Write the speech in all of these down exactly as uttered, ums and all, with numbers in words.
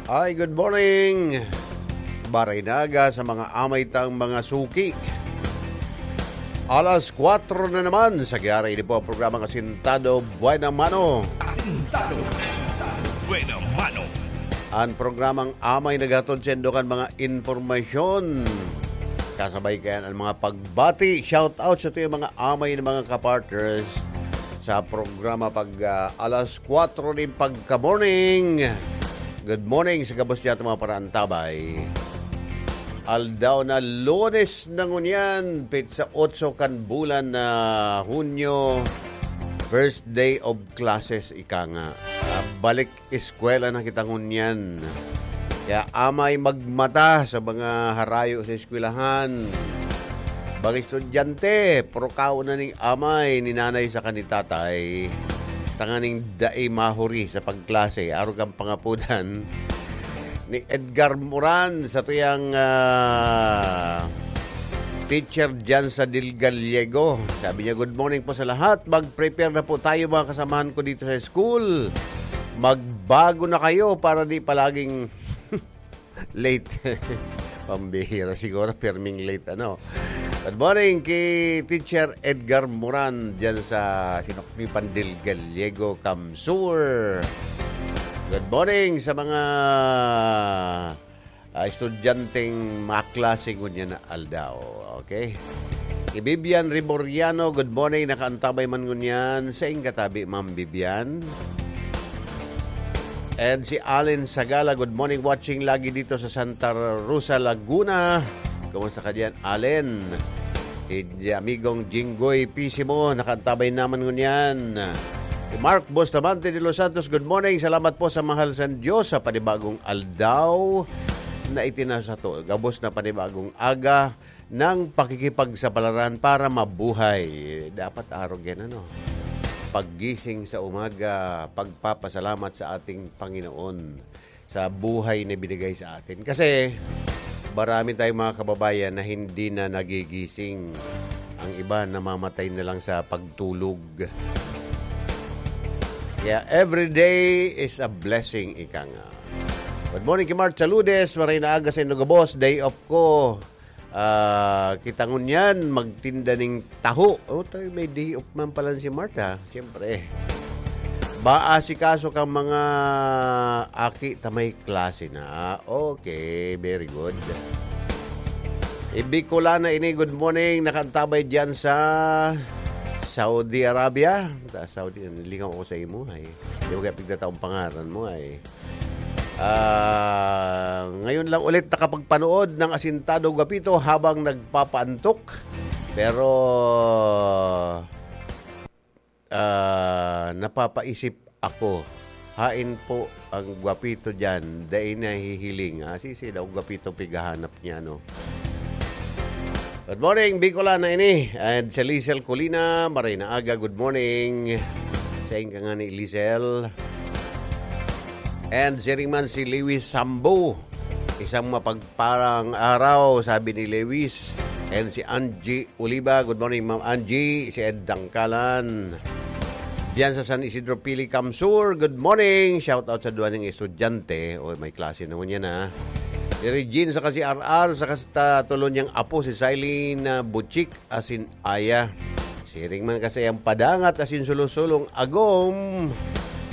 Ay, good morning. Baray na aga sa mga amay tang mga suki. Alas kwatro na naman sa giyara, ini po ang programang Asintado Buena Mano. Asintado Buena Mano. Ang programang amay naghatod sa inyo kan mga impormasyon. Kasabay kayan ang mga pagbati. Shout out sa tuyang mga amay ng mga kapartners sa programa pag, ah, alas kwatro nin pagka-morning. Good morning sa gabos diyan, mga paraantabay. Aldaw na Lunes na ngunyan, petsa otso kan bulan na Hunyo, first day of classes, ika nga. Ah, balik eskwela na kita ngunyan. Kaya amay magmata sa mga harayo sa eskwelahan. Bang estudyante, purukaon na ning amay ni nanay saka ni tatay, tanganing dai mahuri sa pagklase, arog kan pangapodan ni Edgar Moran sa tuyang, ah, teacher diyan sa Del Gallego. Sabi niya, "Good morning po sa lahat. Mag-prepare na po tayo, mga kasamahan ko dito sa school. Magbago na kayo para di palaging late." Pambihira siguro, pirming late, ano. Good morning kay Teacher Edgar Moran diyan sa Sinuknipan Del Gallego, Camsur. Good morning sa mga, ah, estudyanteng maklase ngunyan na aldaw. Okay? Kay Vivian Reboriano, good morning. Nakaantabay man ngunyan. Saing katabi, Ma'am Vivian. And si Allen Sagala, good morning. Watching lagi dito sa Santa Rosa, Laguna. Kumusta ka diyan, Allen? Si amigong Jinggoy Pisimo, nakaantabay naman ngunyan. Si Mark Bustamante de los Santos, good morning. Salamat po sa mahal sa Diyos sa panibagong aldaw na itinasa to. Gabos na panibagong aga ng pakikipagsapalaran para mabuhay. Dapat arog yan, ano? Paggising sa umaga, pagpapasalamat sa ating Panginoon sa buhay na binigay sa atin. Kasi marami tayong mga kababayan na hindi na nagigising. Ang iba namamatay na lang sa pagtulog. Kaya every day is a blessing, ika nga. Good morning kay Mark Chaludes. Maray na aga sa inyo, gabos. Day off ko. Ah, kita ngunyan, magtinda ning taho. O, tayo, may day off man pala si Mark, ha? Siyempre. Ba, asikaso kang mga aki ta may klase na. Okay, very good. Bicolana ini, good morning. Nakaantabay diyan sa Saudi Arabia. Ta-, Saudi, nalingaw ako sa imo, ay. Di ba kaya pigtataong pangaran mo, ay? Ah, ngayon lang ulit nakapagpanood ng Asintado Gwapito habang nagpapaantok. Pero, ah, napapaisip ako. Hain po ang gwapito diyan, dai nahihiling. Ah, sisi daw gwapito pighahanap niya, no? Good morning, Bicolana ini. And si Lizel Colina, maray na aga, good morning. Sain ka nga ni Lizel. And siring man si Lewis Sambo. Isang mapagparang araw, sabi ni Lewis. And si Angie Oliva, good morning, Ma'am Angie. Si Ed Dangkalan. Diyan sa San Isidro Pili, Camsur, good morning. Shout out sa duwa ning estudyante. Oy, may klase naman yan, ha. Si Regine, saka si R R, saka sa tulo niyang apo, si Silene, ah, Butchik, asin Aya. Siring man kasi ang padangat, asin sulo-sulong agom.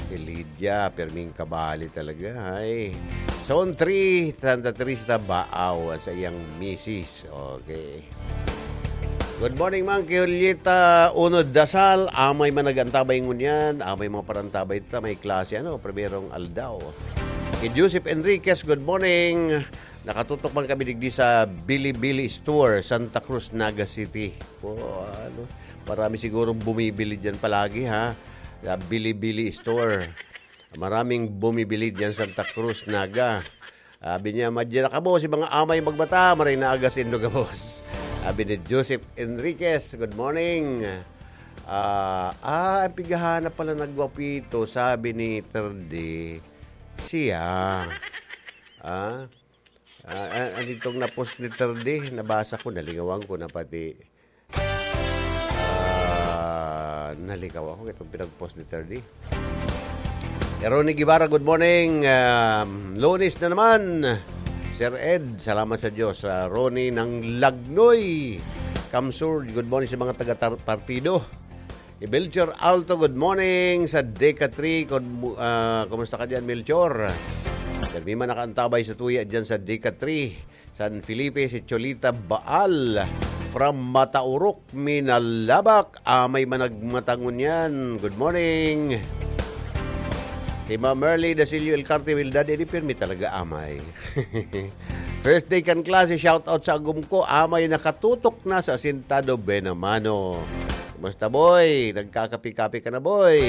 Si Lydia, perming kabali talaga, ay. Zone three, Santa Teresa, Baaw, at sa iyang misis. Okay. Good morning, man. Kay Julieta Uno Dasal, amay man nag-antabay ngunyan, amay mga parantabay ta, may klase, ano, primerong aldaw. Kay Joseph Enriquez, good morning. Nakatutok man kami digdi sa Bilibili Store, Santa Cruz, Naga City. O, ano, marami sigurong bumibili diyan palagi, ha? Sa Bilibili Store. Maraming bumibili diyan, Santa Cruz, Naga. Sabi niya, "Madya na kamo, si mga amay magmata, maray na aga sindo gabos." Sabi ni Joseph Enriquez, "Good morning." Ah, ah, ang pighahanap pala nagwapito, sabi ni Terdi, siya. Ah, ah, ah, anitong na-post ni Terdi, nabasa ko, nalingawan ko na pati. Ah, nalikaw ako itong pinag-post ni Terdi. Ronnie Guevara, good morning. Um, Lunes na naman. Sir Ed, salamat sa Diyos. Ah, Ronnie ng Lagnoy, Kamsur, good morning sa mga taga-partido. Melchor Alto, good morning sa Deca three. Kun-, ah, kumusta ka dyan, Melchor? Pirmi man nakaantabay sa tuya dyan sa Deca three. San Felipe, si Cholita Baal from Mataurok, Minalabak. Amay man nagmatangon yan. Good morning. Si Ma'am Merly Dasilio Elcarte, Wildad, edi pirmi talaga, amay. First day kan klase, shout out sa agom ko. Amay nakatutok na sa Asintado Benamano. Kumusta, boy? Nagkakapi-kapi ka na, boy?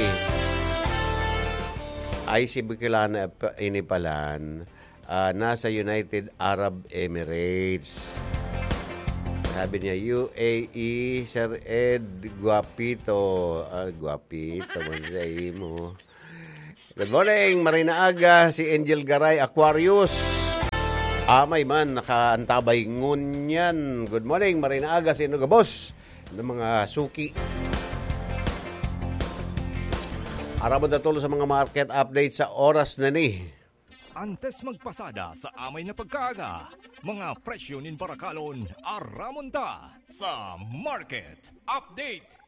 Ay, si Bukilana pa, ini palan. Ah, nasa United Arab Emirates. Sabi niya, "U A E, Sir Ed, guwapito." Ah, guwapito man sa imo. Good morning, Marina Aga, si Angel Garay, Aquarius. Amay man, nakaantabay ngunyan. Good morning, Marina Aga, sino gabos ng mga suki? Aram mo, datol sa mga market update sa oras na ni. Antes magpasada sa amay na pagkaaga, mga presyo nin barakalon, aramon ta sa Market Update.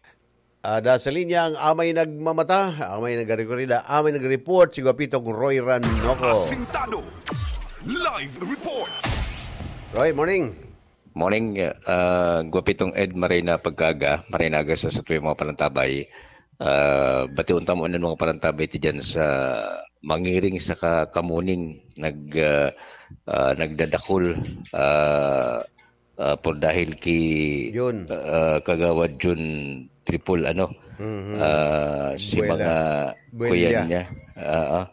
Ada sa linya ang amay nagmamata, amay nagrekorida, amay nag-report, si Guapitong Roy Ranoco. Asintado. Live report. Roy, morning. Morning, ah, Guapitong Ed, maray na pagkaaga, maray na aga sa satuyang mga panantabay. Ah, bation ta mo ang mga panantabay ti dyan sa Mangiring saka Kamuning, nag, ah, ah, nagdadakul, ah, ah, por dahil ki, Jun. Ah, Kagawad Jun Triple, ano, Mhm. ah, si Buela. mga Buela. kuyan niya. Ah, ah,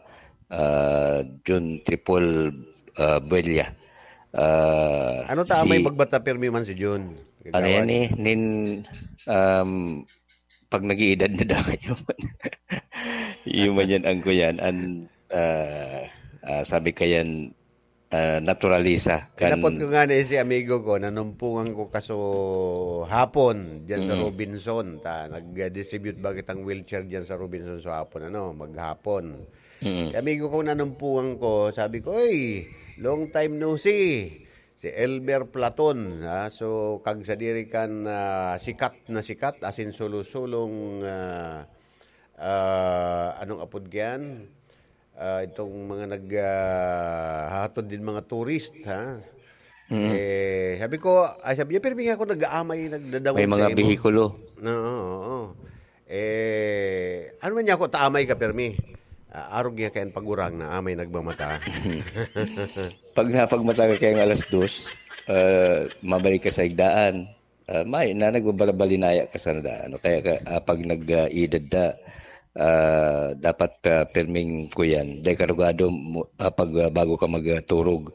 ah, Jun Triple, ah, Buela. Ah, Ano ta, si may magbata pirmi man si Jun? Ano yan Kagawad. eh? Nin, um, pag nag-iidad na daw, yun man. Yun man yan, ang kuyan. An, ah, ah, sabi kayan, ah, naturalisa. Kan Inapot ko nga na si amigo ko, nanumpungan ko kaso hapon, dyan sa Mm. Robinson. Ta, nag-distribute ba kitang wheelchair dyan sa Robinson sa hapon, ano, maghapon. Mm. Si amigo ko, nanumpungan ko, sabi ko, "Oy, long time no see." Si Elmer Platon, ha? So, kag sadiri kan, ah, sikat na sikat, asin sulo-sulong, ah, ah, anong apod kyan? Ah, itong mga nag, ah, hahatod din mga turist, ha? Mm. Eh, sabi ko, ay, sabi niya, "Pero nga ako nag-aamay, nagdadangog May mga sa imo." bihikulo. Oo, oo. Eh, ano man niya ako, taamay ka, permi? Ah, arog niya kayan pagurang na amay nagmamata. Pag napagmata ka kayang alas dos, ah, mabalik ka sa igdaan. Ah, may, na nagbabalabalinaya ka sa nadaan. Kaya ka, ah, pag nag-, ah, edad na, ah, dapat, ah, pirming kuyan. Dahil karugado mo, ah, pag, ah, bago ka magturog,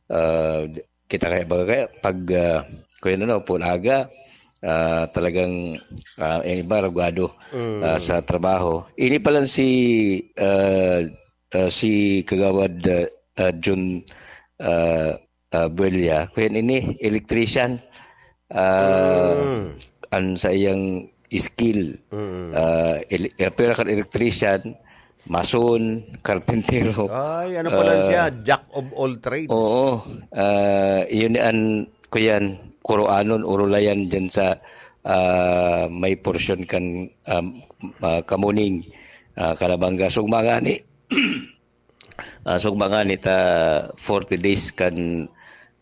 ah, kita kaya baga kaya pag, ah, kuyan ano, pulaga, ah, talagang, ah, yung iba rugado, Mm. ah, sa trabaho. Ini pa lang si, ah, ah, si Kagawad, ah, ah, Jun, ah, ah, Buelya, kuyan ini, electrician. Ah, Mm. ang sa iyang skill, Mm. ah, ele-, eh, pero kan electrician, mason, karpintero. Ay, ano pala Ah, siya? Jack of all trades. Oo. Ah, yun an, kuyan, kuroanon, urulayan dyan sa, ah, may porsyon kan, um, ah, Kamuning, ah, Calabanga. So, mga ni, ah, so, mga ni ta forty days kan,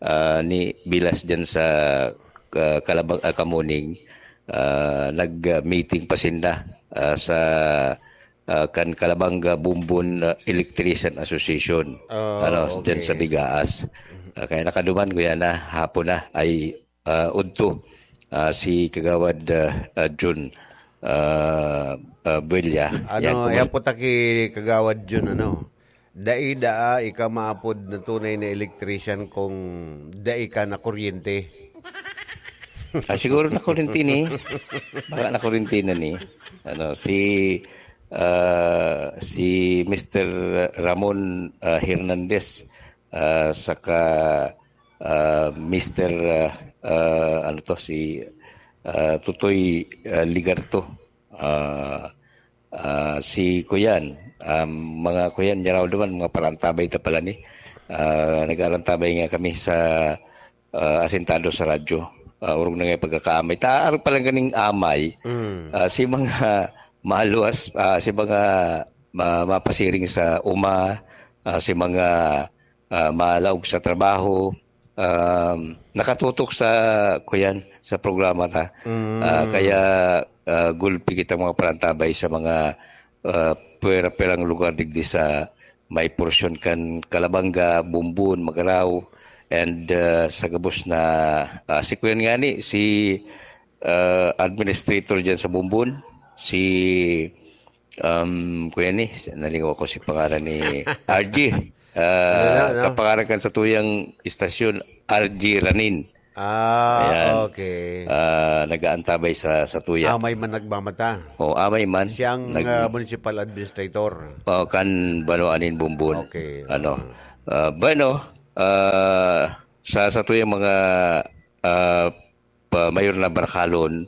ah, ni bilas dyan sa, ah, Calabang-, ah, Kamuning, ah, nag-meeting pa sinda, ah, sa, ah, kan Calabanga Bumbon, ah, Electrician Association, Ah, ano, dyan sa okay. Bigaas. Ah, kaya nakaduman ko yan na hapon na ay, ah, udto, ah, si Kagawad, ah, ah, Jun, ah, ah, Buelya. Yan, Ano, kumus- yan po ta ki Kagawad Jun, ano? Dai daa ika maapod na tunay na electrician kung dai ka na kuryente. Ah, siguro na kuryente ni. Baka na kuryente na ni. Ano, si, ah, si Mister Ramon, ah, Hernandez, ah, saka, ah, Mister, ah, ah, ano to, si, ah, Tutoy, ah, Ligarto. Ah, Ah, si kuyan, um, mga kuyan, niya raw naman, mga parantabay ta pala ni. Ah, nag-aarantabay nga kami sa, ah, asentado sa radyo. Ah, orog na nga pagkakaamay. Ta, arog pa lang ganing amay. Mm. Ah, si mga maluwas, ah, si mga ma-, mapasiring sa uma, ah, si mga, ah, malaog sa trabaho, um, nakatutok sa, kuyan, sa programa ta. Mm. Ah, kaya, ah, gulpi kita mga parantabay sa mga, ah, pwera-pwerang lugar digdi sa may porsyon kan Calabanga, Bumbon, Magarao, and, ah, sa gabos na, ah, si kuyan ngani, si, ah, administrator diyan sa Bumbon, si, um, kuyan ni, nalingaw ko si pangalan ni R G. Ah, Ano na, ano? kapangalan kan sa tuyang istasyon, R G Ranin. Ah, Ayan. okay. Ah, nag-aantabay sa, sa tuya. Amay man nagmamata. O, amay man. Siyang, Nag- ah, municipal administrator. O, kan Bano Anin Bumbon. Okay. Ano? Ah, bueno, ah, sa, sa tuyang mga, ah, pa, mayor na barakalon,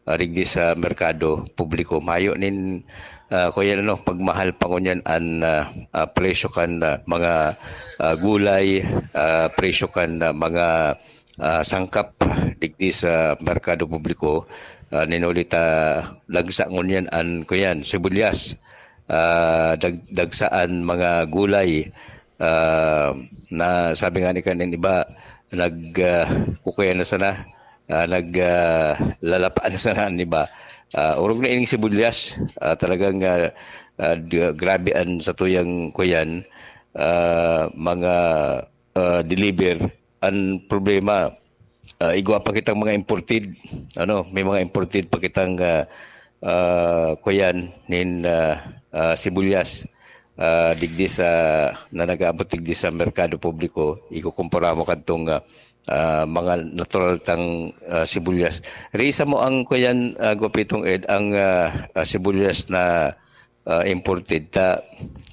ah, digdi sa merkado publiko, mayo nin, ah, kuyan ano, pagmahal pa ngunyan an, ah, ah, presyo kan, ah, mga, ah, gulay, ah, presyo kan, ah, mga, ah, sangkap digdi sa merkado publiko. Ah, ninuli ta, lagsa ngunyan an, kuyan, sibuyas. Ah, dag-, dagsa an mga gulay. Ah, na sabi nga ni kanin iba, nag, ah, kukuya na sana, ah, nag, ah, lalapaan na sana, di ba? Ah, orog na ining sibuyas, ah, talagang, ah, ah, d-, grabe an satuyang kuyan, ah, mga, ah, deliver. Ang problema, ah, igwa pa kitang mga imported, ano, may mga imported pa kitang, ah, ah, kuyan nin, ah, ah, sibuyas, ah, digdi sa, na nag-aabot digdi sa merkado publiko, ikukumpara mo kadtong, ah, ah, mga natural tang, ah, sibuyas. Risa mo ang kuyan, ah, Gwapitong Ed, ang, ah, ah, sibuyas na, ah, imported ta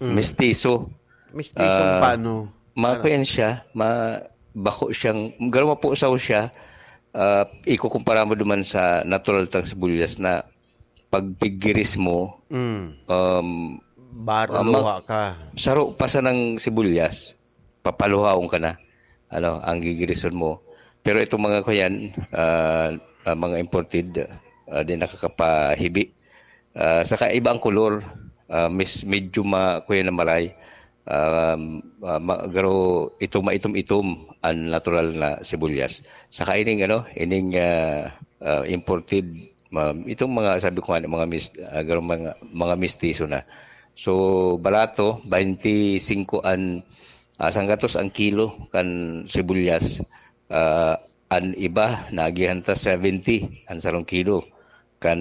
Mm. mestizo. Mestizo Ah, paano? Mga Ano? kuyan siya, ma-, bako siyang, garo mapusaw siya, ah, ikukumpara mo duman sa natural tang sibuyas na pagpigiris mo, Mm. um, Baro ah, mag- luha ka. saro pa sanang sibuyas, papaluhaon ka na. Ano, ang gigirison mo. Pero itong mga kuyan, ah, ah, mga imported, ah, di nakakapahibi. Ah, saka iba ang kolor, ah, mis-, medyo ma-, kuyan na maray. Um, ah, ma-, garo itom, maitom-itom ang natural na sibuyas. Saka ining, ano, ining, ah, ah, imported, ma-, itong mga, sabi ko nga, mga mis-, ah, garo mga, mga mistiso na. So, barato, baynte singko an, ah, sanggatos ang kilo kan sibuyas. Ah, an iba, naagihan ta seventy an sarong kilo kan,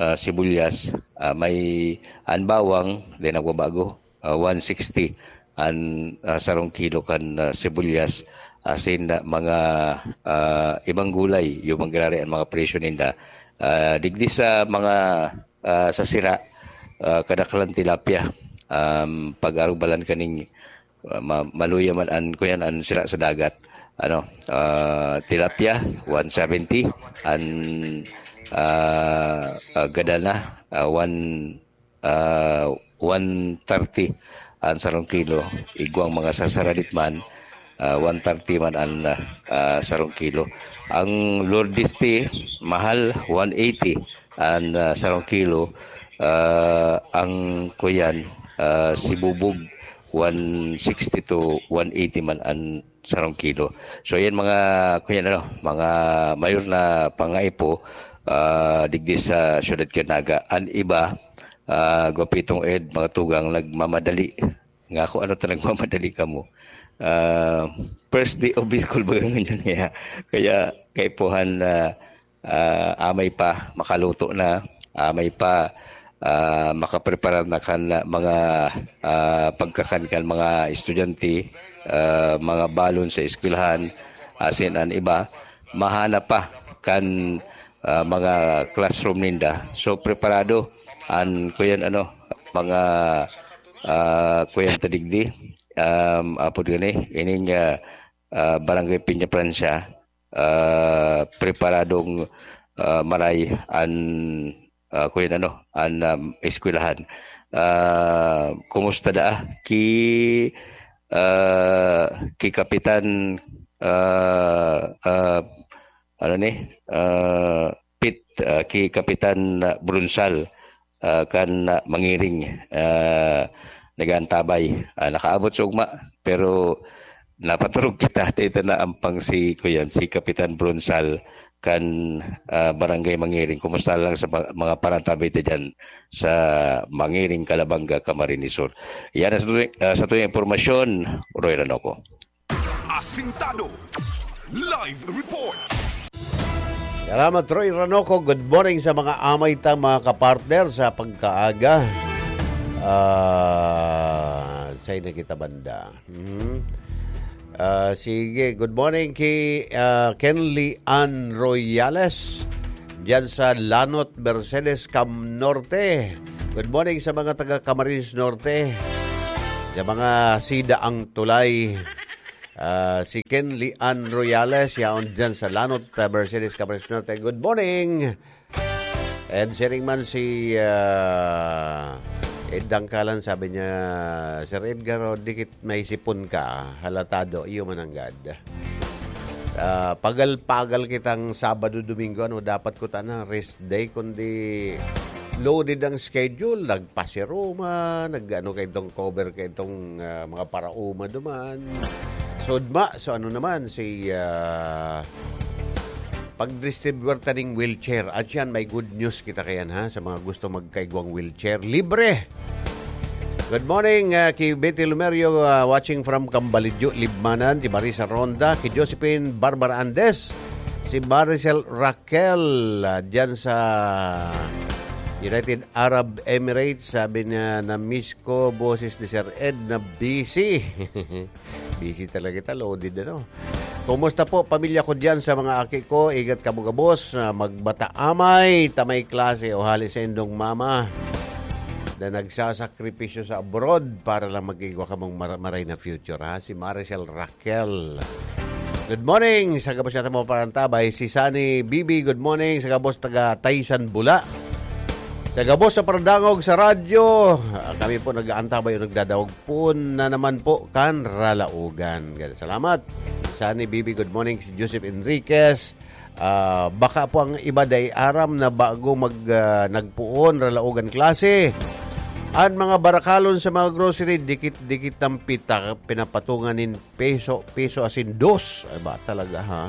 ah, sibuyas. Ah, may an bawang, di nagbabago, ah, one sixty an, ah, sarong kilo kan, ah, sibuyas. Asin, ah, mga, ah, ibang gulay, yung mangyayari ang mga presyo ninda. Ah, digdi sa mga, ah, sa sira, ah, kadaklan tilapia. Um, pag-arubalan kaning, ah, ma-, maluya man an, kuyan, an sira sa dagat. Ano, ah, tilapia, one seventy, an, ah, ah, gadana, ah, one, ah, one thirty an sarong kilo. Igwang mga sarsaradit man, ah, one thirty man an, ah, ah, sarong kilo. Ang Lourdes tea, mahal, one eighty an, ah, sarong kilo. Ah, ang kuyan, ah, sibubog, one sixty to one eighty man an sarong kilo. So, yan mga, kuyan, ano, mga mayor na pangaipo, ah, digdi sa siyudad kan Naga. An iba, ah, Gwapitong Ed, mga tugang, nagmamadali. Nga ako, ano ta nagmamadali kamo? Ah, first day of school baga ngunyan kaya. Kaya kaipuhan na, ah, amay pa makaluto na, amay pa, ah, makapreparar na kan mga, ah, pagkakan kan mga estudyante, ah, mga balon sa eskwelahan, asin an iba, mahanap pa kan, ah, mga classroom ninda. So, preparado an kuyan, ano, mga, ah, kuyan ta digdi, um, apod gani, ining, ah, ah, Barangay Peña Francia, ah, preparadong, ah, maray an ah, kuyan ano, an, um, eskwelahan. Ah, kumusta daa ki, ah, ki Kapitan, ah, ah, ano ni, ah, Pit, ah, ki Kapitan, ah, Brunsal, ah, kan, ah, Mangiring, ah, nag-aantabay. Ah, nakaabot sa ugma, pero napaturog kita. Dito na ampang si, kuyan, si Kapitan Brunsal kan, ah, Barangay Mangiring. Kumusta lang sa ba-, mga parantabay ta dyan sa Mangiring, Calabanga, Camarines Sur? Yan ang sa tuwing, ah, sa tuwing impormasyon, Roy Ranoco. Asintado. Live report. Salamat, Roy Ranoco. Good morning sa mga amay ta, mga kapartner, sa pagkaaga. Ah, sa'yo na kita banda. Mhm. Ah, sige, good morning ki, ah, Kenly Ann Royales, diyan sa Lanot, Mercedes, Cam Norte. Good morning sa mga taga Camarines Norte, sa mga Sida ang Tulay. Ah, si Kenly Ann Royales, yaon diyan sa Lanot, ah, Mercedes, Camarines Norte. Good morning! And siring man si, ah, Ed Dangkalan, sabi niya, "Sir Edgar, oh, dikit may sipon ka, halatado, iyo mananggad." Ah, pagal-pagal kitang Sabado, Domingo, ano, dapat ko tana rest day, kundi loaded ang schedule, nagpasiruma, nag-ano kay itong cover kay itong, ah, mga parauma duman. Sudma, so ano naman, si, ah, pag-distribuer ta ning wheelchair. At yan, may good news kita kayan, ha, sa mga gusto magkaigwang wheelchair. Libre! Good morning, ah, ki Betty Lumerio, ah, watching from Cambalidyo, Libmanan, si Marisa Ronda, ki Josephine Barbara Andes, si Maricel Raquel, ah, dyan sa United Arab Emirates, sabi niya, "Na-miss ko boses ni Sir Ed na busy." Busy talaga kita, loaded, ano. Kumusta po, pamilya ko diyan sa mga aki ko? Ingat kamo gabos, ah, magbata amay, ta may klase o hali sa indong mama na nagsasakripisyo sa abroad para lang magigwa kamong mara-, maray na future, ha? Si Maricel Raquel. Good morning sa gabos natin mga parantabay. Si Sunny Bibi, good morning sa gabos taga Taysan, Bula. Sa gabos sa Paradangog sa radyo, ah, kami po nag-aantabay o nagdadawog po na naman po kan Ralaogan. Salamat. Sunny Bibi, good morning. Si Joseph Enriquez, ah, baka po ang iba dai aram na bago mag, ah, nagpoon, Ralaogan klase. An mga barakalon sa mga grocery, dikit-dikit ang pita, pinapatungan nin peso, peso asin dos. Ay ba talaga, ha?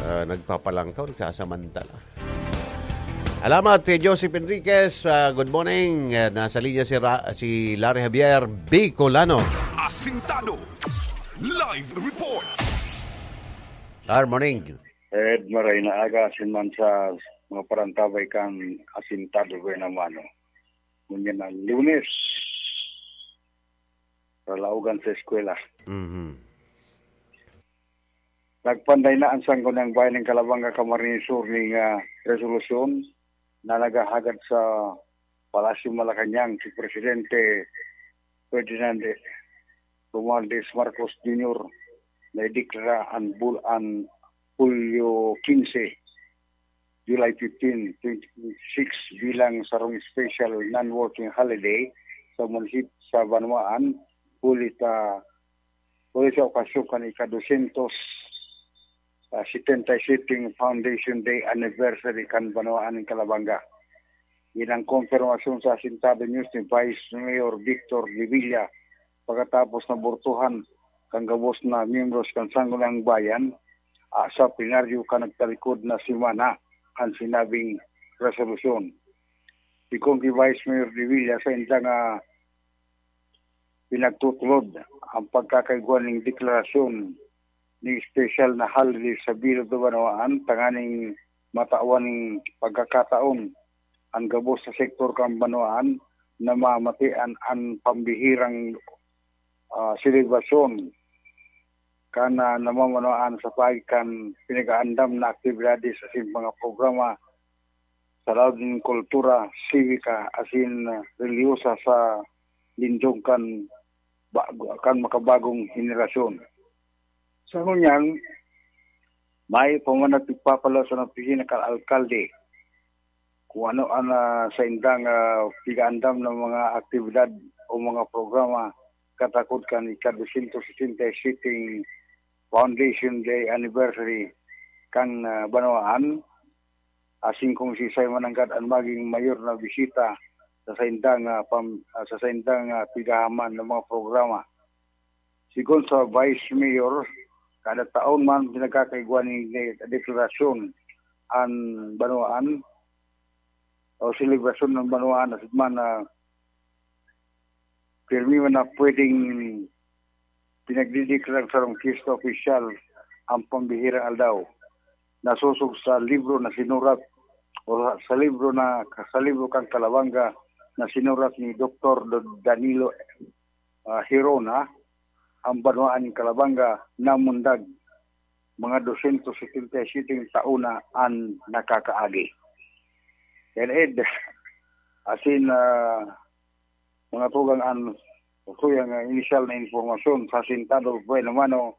Ah, nagpapalangkaw, nagsasamantala. Alamat kay Joseph Enriquez. Ah, good morning. Ah, nasa linya si Ra-, si Larry Javier Bicolano. Asintado. Live report. Good morning. Ed, maray na aga, asin man sa mga parantabay kan Asintado Buena Mano. Ngunyan na Lunes, Ralaogan sa eskwela. Mhm. Nagpanday na ang Sangguniang Bayan nin Calabanga, Camarines Sur ning, ah, resolusyon na naghahagad sa Palasyo Malacañang si Presidente Ferdinand Romualdez Marcos Junior na ideklara an bul-, an Hulyo quince, July fifteen, twenty twenty-six bilang sarong special non-working holiday sa munisip-, sa banwaan, huli ta, huli sa okasyon kan ika-dosyentos, ah, setenta y siete Foundation Day anniversary kan banwaan nin Calabanga. Yan ang konfirmasyon sa Asintado News ni Vice Mayor Victor Revilla pagkatapos na burtuhan kan gabos na miyembros kan Sangguniang Bayan, ah, sa plenaryo kan nagtalikod na semana an sinabing resolusyon. Sigon ki Vice Mayor Revilla, sa indang, ah, pinagtutulod ang pagkakaigwa ning deklarasyon ning espesyal na holiday sa bilog na banwaan tanganing matawan ning pagkakataon an gabos sa sektor kan banwaan na mamatian an pambihirang, ah, selebrasyon kan, ah, namamanwaan sa paagi kan pinag-aandam na aktibidades asin mga programa sa laog nin kultura, sibika, asin relihiyosa sa lindong kan bago, kan makabagong henerasyon. Sa ngunyan, mayo pa man nagpapalaw sa opisina kan alkalde kung ano an, ah, saindang, ah, pigaandam na mga aktibidad o mga programa katakod kan ika-dosyentos sesenta y siyete Foundation Day Anniversary kan, ah, banwaan, asin kung siisay man nanggad an maging mayor na bisita sa saindang, ah, pam-, ah, sa saindang, ah, pigahaman na mga programa. Sigon sa Vice Mayor, kada taon man pinagkakaigwa nin deklarasyon an banwaan o selebrasyon ng banwaan, asin man na pirmi man na pwedeng pinagdideklara sarong fiesta opisyal ang pambihirang aldaw. Nasosog sa libro na sinurat o sa libro na, sa libro kan Kalabanga na sinurat ni Doktor Do-, Danilo, ah, Hirona, ang banwaan nin Kalabanga namundag mga dosyentos setenta y siyete taon na an nakakaagi. Yan, Ed, asin, ah, mga tugang an, tuyang, ah, inisyal na impormasyon sa Sentado Buena Mano,